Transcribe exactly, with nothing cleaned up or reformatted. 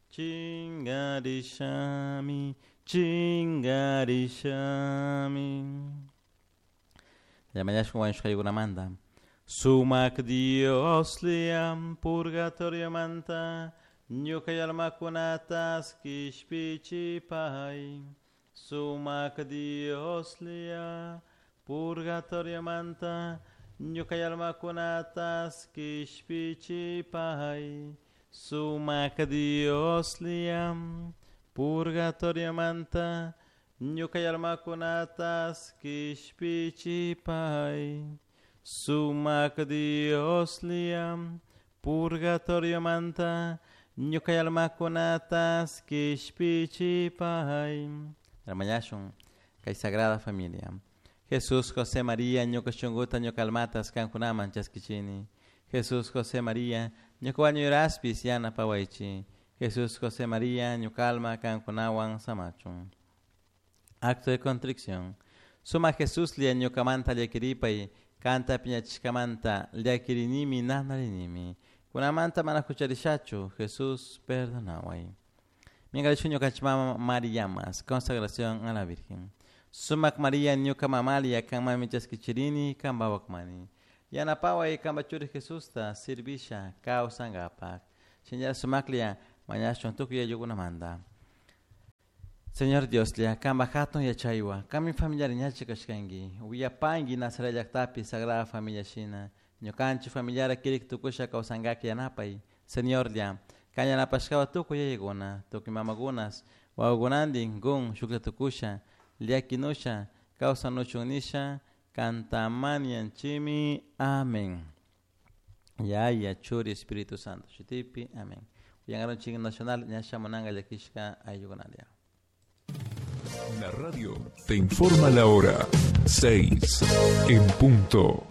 Chingarishami, chingarishami. Llamañashun wañushkaykunamanta. Sumak Dioslla purgatoriomanta ñuka almakunatas kishpichipay. Sumak Dioslla purgatoriomanta ñuka almakunatas kishpichipay. Sumak Dioslla purgatoriomanta ñuka almakunatas kishpichipay. Sumak Dioslla purgatoriomanta ñuka almakunatas kishpichipay. Hermañashun kay Sagrada Familia. Jesús, José, María, ñuka shunkuta, ñuka almatas kankunaman chaskichini. Jesús, José, María, ñuka wañuyraspis yanapawaychi. Jesús, José, María, ñuka alma kankunawan samachun. Acto de contrición. Suma Jesús lia ñukamanta llakiripay, kanta piñachishkamanta llakirinimi nanarinimi. Kunamanta mana hucharishachu, Jesús, perdonaway. Mingarishu ñukanchik mama Mariamas, consagración a la Virgen. Sumak María ñuka mamalia kanmanmi chaskichirini kanpawakmani. Yanapaway kanpa churi Jesusta servisha kawsankapak. Señora sumaklla mañashun tukuy ayllukunamanta. Señor Dioslla, kanpa hatun yachaywan, kanmi familiar ñachi kashkanki, willapanki Nazaret llaktapi Sagrada Familia shina, ñukanchik familiara kirik tukusha kawsankak yanapay. Señorlla, kan yanapashkawa tukuy yayakuna, tukuy mamakunas, wawakunantin kun shuklla tukusha, llakinusha, kawsanuchun nisha, kantamanianchimi. Amén. Yaya, Churi, Espíritu Santo, shutipi, amén. Uyangaronchik Nacional, ñasha munanga llakishka ayllukunalia. La radio te informa la hora. Seis en punto.